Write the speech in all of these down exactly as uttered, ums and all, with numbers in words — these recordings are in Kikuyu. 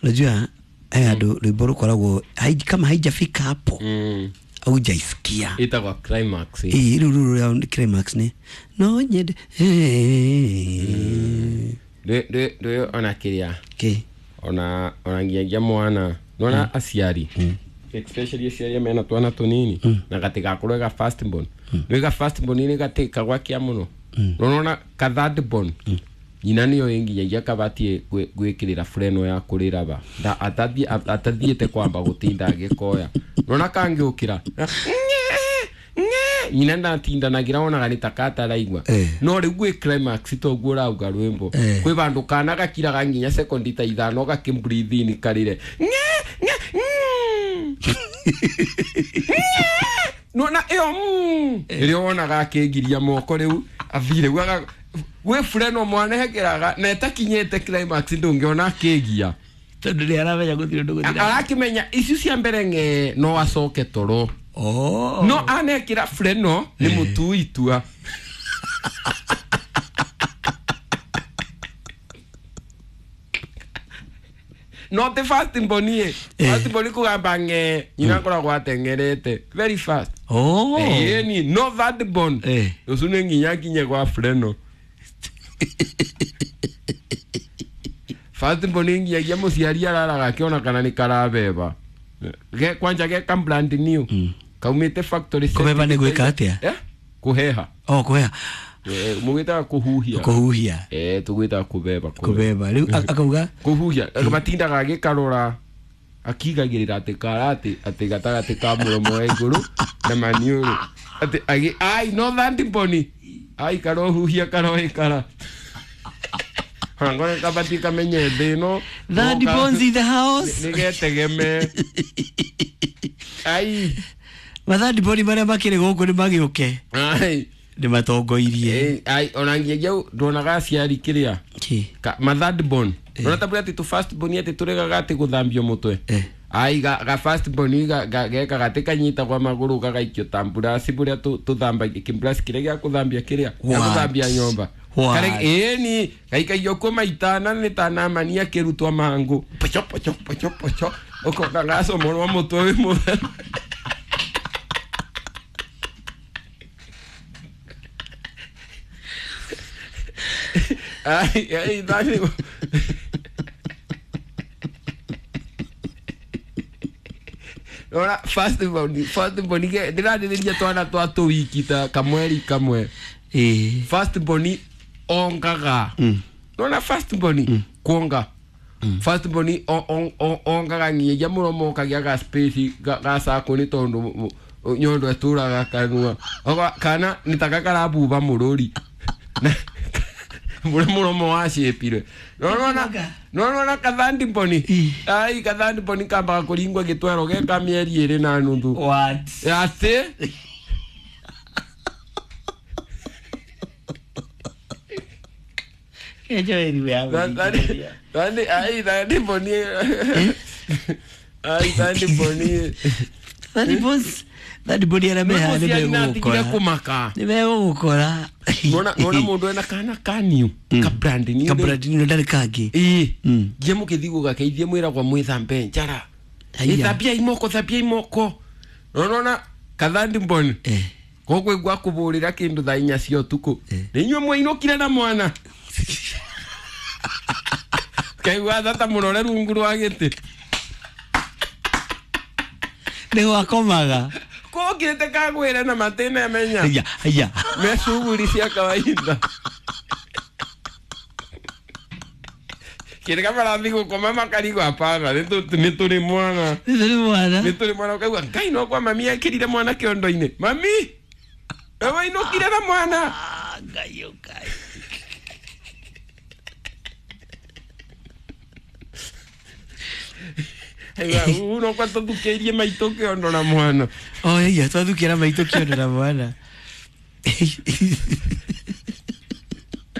Unajua eh andu rwimbo rukoragwo kama haijafika hapo mm. Haujaisikia. Itagwa climax. Eh, ruru ruru climax ni no nyende. Nde nde nde ona kiria. Ki. Ona ona nginya mwana. Nona aciari. Especially aciari mena twana tunini na gatigakorwo ga first born. Nĩ ga first born ni gatika gwakia muno. Nona ka third born. Nyina niyo inginyagia kabatie gwikirira freno ya kurira ba nda atathie atathiete kwamba gutinda agikoya nona kangiukira nyina ndatindanagira wonaga ni takataraigua no riu gwi climax toguo rauga rwimbo kwi bandu kana gakiraga nginya sekondi ta ithano gakibreathe in karire nona iyo rio wonaga akingiria moko riu athire gwaga we freno mwana hekeraga na etakinyete climax ndungiona akigia tondu ni aramenya guthire ndu guthira arakimenya icio cia mbere nge no acoke toro oh no anekira freno ni mutu itua no the fast mbonie fast mboni kugamba nge nyina koragwo atengerete very fast oh eh ni no that bond usune nginya kinye kwa freno fast mboni nginya muciari araraga akiona kana ni karabeba ge kwanja ge ka brand new kaumite factory kubeba ni gwika atia eh kuheha oh kuheha eh mugitaga kuhuhia kuhuhia eh tugwitaga kubeba kubeba riu akauga kuhuhia matindaga agikarora akigagirira ati karati ati gatagati ka muromo wa iguru na maniuru ati agi ai no that mboni ai karohuhia karoikara ngore kabati kamenye thino that bones in the house nigetegeme ai mathandi boni maria makiri guku ni magiuke ai ni matongoirie ai ona nginya ndonaga aciari kiria mathandi bon nona tabura ati tu first bon ati turegaga ati guthambio mutwe ai ga ga first bon ga geka gati kanyita kwa maguru gagaikio tamburasi buria tuthambagia kimburasi kiria gia kuthambia kiria gia kuthambia nyomba kare eh ni gaikaio ko maitana ni tanamania kirutwa mangu pocho pocho pocho pocho uko gaso moro mutwe wi mutheru ai ai dai ora fast boni fast boni ke ndiraririria twana twa tuwiki ta kamweri kamwe eh fast boni ongaga nona fast boni kuonga fast boni ongaga nginya muromo kagia ga space ga sako ni tondu nyondo eturaga kanua kana nitaka karabuba mururi muri muromo wacipire nona nona kathandi mboni ai kathandi mboni kambaga kuringwa gitwero ge ka mieri iri na nuthu what ati kejo eri ya thandi ai thandi mboni ai thandi mboni thandi boss thandi mboni ara meha ni megukora kumaka ni megukora nona nona mundu ena kana kaniu ka brand new ka brand new ndari kangi eh ngie mukithi gugakeithie mwiragwa mwithambe njara ithambia imoko thambia imoko nona kathandi mboni eh kokwigwa kuburira kindu thaa inya cia utuku ni inyue mwainukire na mwana kaigua thata murore rungu rwa giti ni gwakomaga kokirite kagwire na matine menya haya haya me shughuli cia kawaida kire kamarathi gukoma makarigwo hapana ni turi mwana ni turi mwana ni turi mwana ukaigua ngai no kwa mami ekirire mwana kiondo-ini mami wainukire na mwana ngai ukai uno kwa twathukiirie maitũ kiondo na mwana oh iya twathukira maitũ kiondo na mwana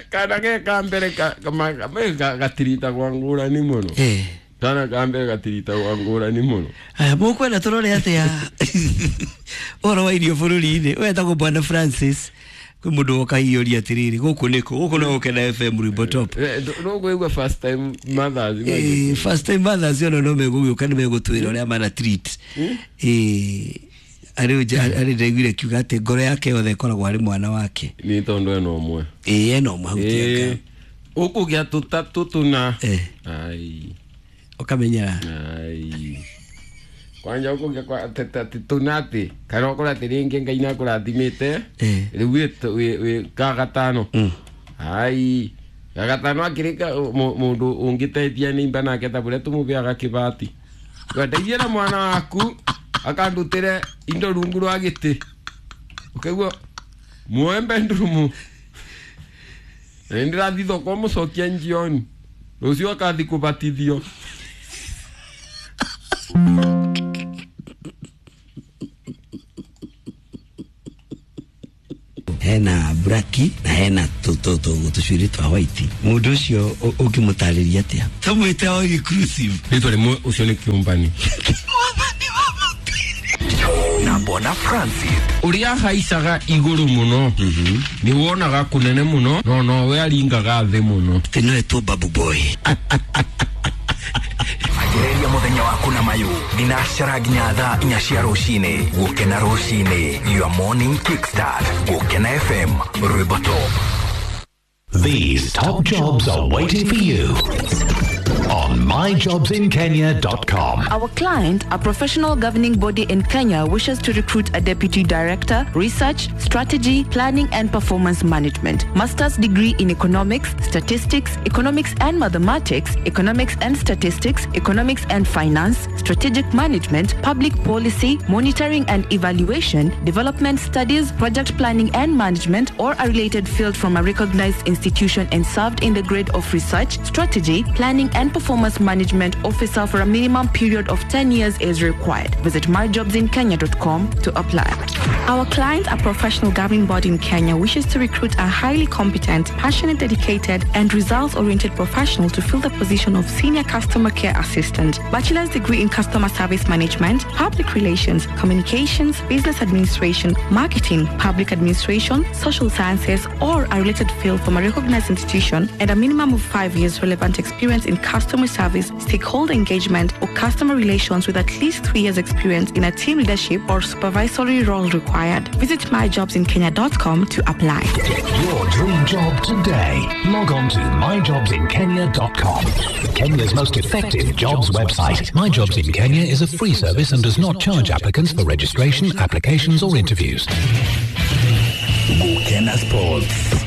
kana ge ka mbere ka gatiritagwa ngũrani mũno eh kana ka mbere gatiritagwa ngũrani mũno aya mũkwenda tũrore atĩa ũhoro wa irio bũrũri-inĩ wetagwo Bwana Francis Kwĩ mũndũ woka hiũria atĩrĩrĩ, gũkũ nĩkũ? Gũkũ no Gũkena F M Rwĩmbo Top. No ngwĩgua first time mothers. Eh, first time mothers ona no megũgĩũka nĩ megũtwĩra ũrĩa mana treat. Eh, arĩ arĩ ndaiguire kiuga atĩ ngoro yake yothe ĩkoragwo arĩ mwana wake. Nĩ tondũ ena ũmwe. Ĩĩ, ena ũmwe hau tianga. Ũkũgĩa tũtatũ tũna. Eh. Ai. Ũkamenyera. Ai. Kwanja ũkũgĩa kwa tũna atĩ kana ũkora atĩ rĩngĩ Ngai nĩakũrathimĩte. Rĩu wĩ ka gatano. Ai. Ga gatano akĩrĩka mũndũ ũngĩteithia nĩ imba nake ta ũrĩa tũmũbeaga kĩbati. Ndeithia na mwana waku akandutĩre indo rungu rwa gĩtĩ. Ũkaigua muoe bedroom. Na nĩndĩrathiĩ thoko mũcokie njioni. Rũciũ akathiĩ kũbatithio. Hena braki na hena tũcuĩrĩ twa white. Mũndũ ũcio ũngĩmũtarĩria atĩa? Tũmwĩte o exclusive. Rĩtwa rĩmwe ũcio nĩ kĩũmbani. Na Bona Francis. Ũrĩa haicaga igũrũ mũno nĩ wonaga kũnene mũno no nowe aringaga thĩ mũno. Atĩ no etwo Babu Boy. Anjĩrĩria mũthenya waku na mayũ thinacara nginya thaa inya cia rũcinĩ. Gũkena rũcinĩ, your morning kickstart. Gũkena F M Rwĩmbo Top. These top jobs are waiting for you on my jobs in kenya dot com. Our client, a professional governing body in Kenya, wishes to recruit a deputy director, research, strategy, planning and performance management, master's degree in economics, statistics, economics and mathematics, economics and statistics, economics and finance, strategic management, public policy, monitoring and evaluation, development studies, project planning and management, or a related field from a recognized institution and served in the grade of research, strategy, planning and performance management officer for a minimum period of ten years is required. Visit my jobs in kenya dot com to apply. Our client, a professional governing body in Kenya, wishes to recruit a highly competent, passionate, dedicated, and results-oriented professional to fill the position of senior customer care assistant. Bachelor's degree in customer service management, public relations, communications, business administration, marketing, public administration, social sciences, or a related field from a recognized institution, and a minimum of five years relevant experience in customer service, stakeholder engagement, or customer relations with at least three years experience in a team leadership or supervisory role required. Visit my jobs in kenya dot com to apply. Get your dream job today. Log on to my jobs in kenya dot com. Kenya's most effective jobs website. My Jobs in Kenya is a free service and does not charge applicants for registration, applications or interviews. Gukena Sports.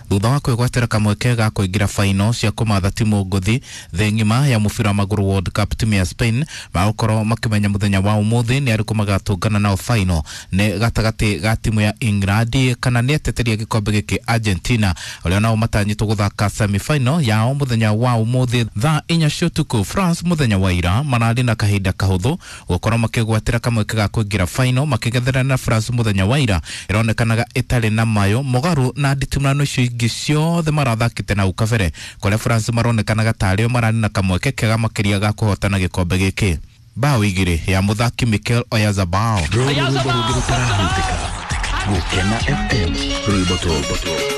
Thutha wa kwĩgwatĩra kamweke ga kũingĩra final cia kũmatha timu ngũthi thĩ ng'ima ya mũbira wa magũrũ World Cup, timu ya Spain magũkorwo makĩmenya mũthenya wa ũmũthĩ nĩ arĩkũ magatũngana nao final nĩ gatagatĩ ga timu ya England kana nĩ ateteria gĩkombe gĩkĩ Argentina, ũrĩa nao matanyĩtwo gũthaka semi final yao mũthenya wa ũmũthĩ thaa inya cia ũtukũ. France mũthenya wa ira mararĩ na kahinda kahũthũ gũkorwo makĩgwatĩra kamweke ga kũingĩra final makĩgetherana na France mũthenya wa ira ĩronekanaga ĩtarĩ na mayo mũgarũ na nditimũrano icio ingĩ ciothe marathakĩte na ukabere kũrĩa France maronekanaga tarĩo mararĩ na kamweke kega makĩria ga kũhotana gĩkombe gĩkĩ. Bao igĩrĩ ya mũthaki Mikel Oyarzabal. Gũkena F M Rwĩmbo Top.